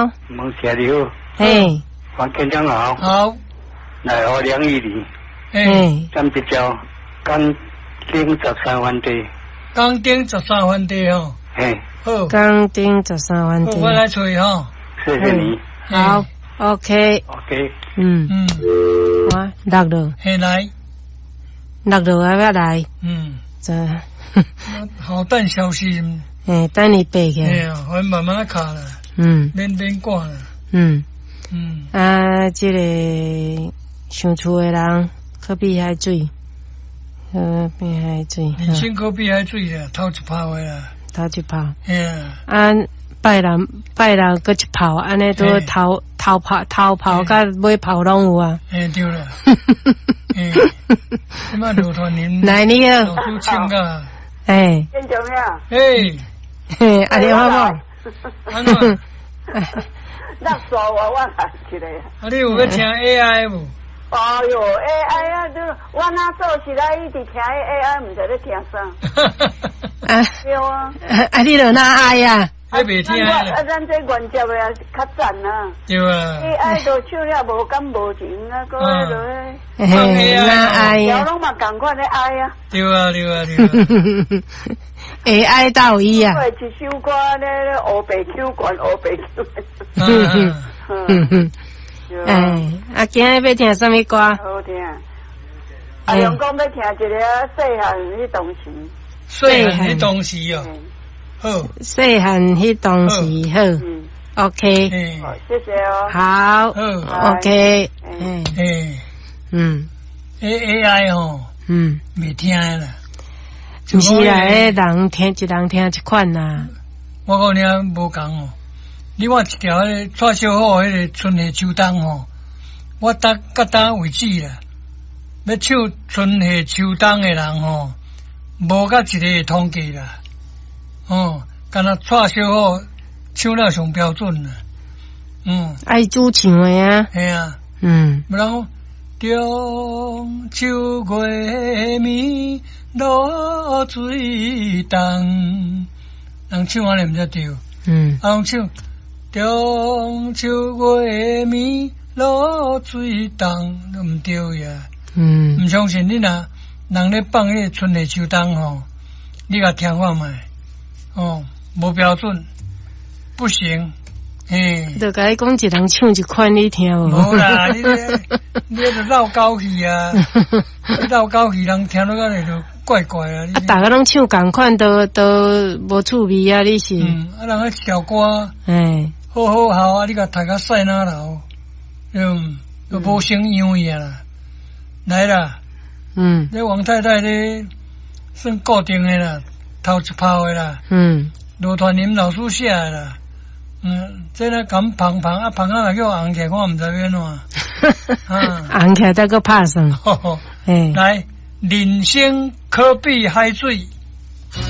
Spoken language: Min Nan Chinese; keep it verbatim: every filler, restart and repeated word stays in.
好。孟姐你好。嘿。黄県長好。好。內湖梁玉玲。嘿。站一條江頂十三番地。江頂十三番地吼。嘿。好。江頂十三番地。我來揣吼。謝謝你。好，OK。 OK。嗯。嗯。我錄落。嘿來。錄落啊，欲來。嗯。這。好等消息。欸，等伊爬起來。嘿啊，我慢慢卡啦。嗯。免免趕啦。嗯。嗯。啊，這个想厝的人可比海水，可比海水。人生可比海水啦，頭一泡的啦。頭一泡。嘿啊。啊，拜六拜六閣一泡，按呢都頭頭泡頭泡佮尾泡攏有啊。嘿，對啦。嘿，這擺劉傳林。來，你好。老師唱甲。欸。先做咩？嘿。嘿，啊你好無？按怎？那煞我我來一个。啊，你有欲聽 A I 無？哎喲，A I 啊，你我若做起來一直聽 A I，毋知咧聽啥。啊。對啊。啊，你著哪愛啊？還袂聽啊，咱這原接的也是較讚啊。對啊。 A I 都唱了無感無情啊，閣彼落嘿，哪愛啊？攏嘛仝款咧愛啊。對啊，對啊，對啊。會愛到伊啊！一首歌咧，烏白手懸，烏白手。嗯嗯嗯。哎，啊，今日欲聽啥物歌？好聽。阿龍講欲聽一个細漢彼當時。細漢彼當時哦。好。細漢彼當時好。OK。謝謝哦。好。OK。嗯。嗯。 A A I 吼。嗯。袂聽啦。毋是啦，彼人聽一人聽一款啦。我講你無仝哦，你看一條彼个蔡小虎彼个春夏秋冬吼，我到到今為止啦，欲唱春夏秋冬的人吼，無甲一個會統計啦。哦，敢若蔡小虎唱了上標準啦。嗯，愛主唱的啊。嘿啊。嗯。無人講中秋月暝露水重，人唱按呢毋才對。嗯。啊，人唱中秋月暝露水重，都毋對呀。嗯。毋相信你若人咧放彼个春夏秋冬吼，你共聽看覓，哦，無標準，不行。嘿，就共你講一人唱一款，你聽無？無啦，你這你這繞高去啊！你繞高去，人聽落來就怪怪啊！啊，逐个攏唱仝款，都都無趣味啊！你是？嗯，啊，人彼一條歌，欸，好好好啊！你共讀甲屎哪流，嗯，都無成樣去啊啦！來啦，嗯，這王太太咧算固定的啦，頭一炮的啦，嗯，羅傳林老師寫的啦。嗯，這个敢捧捧啊捧啊，若叫紅起來，我毋知欲按怎。啊，紅起來再閣拍算。來，人生可比海水。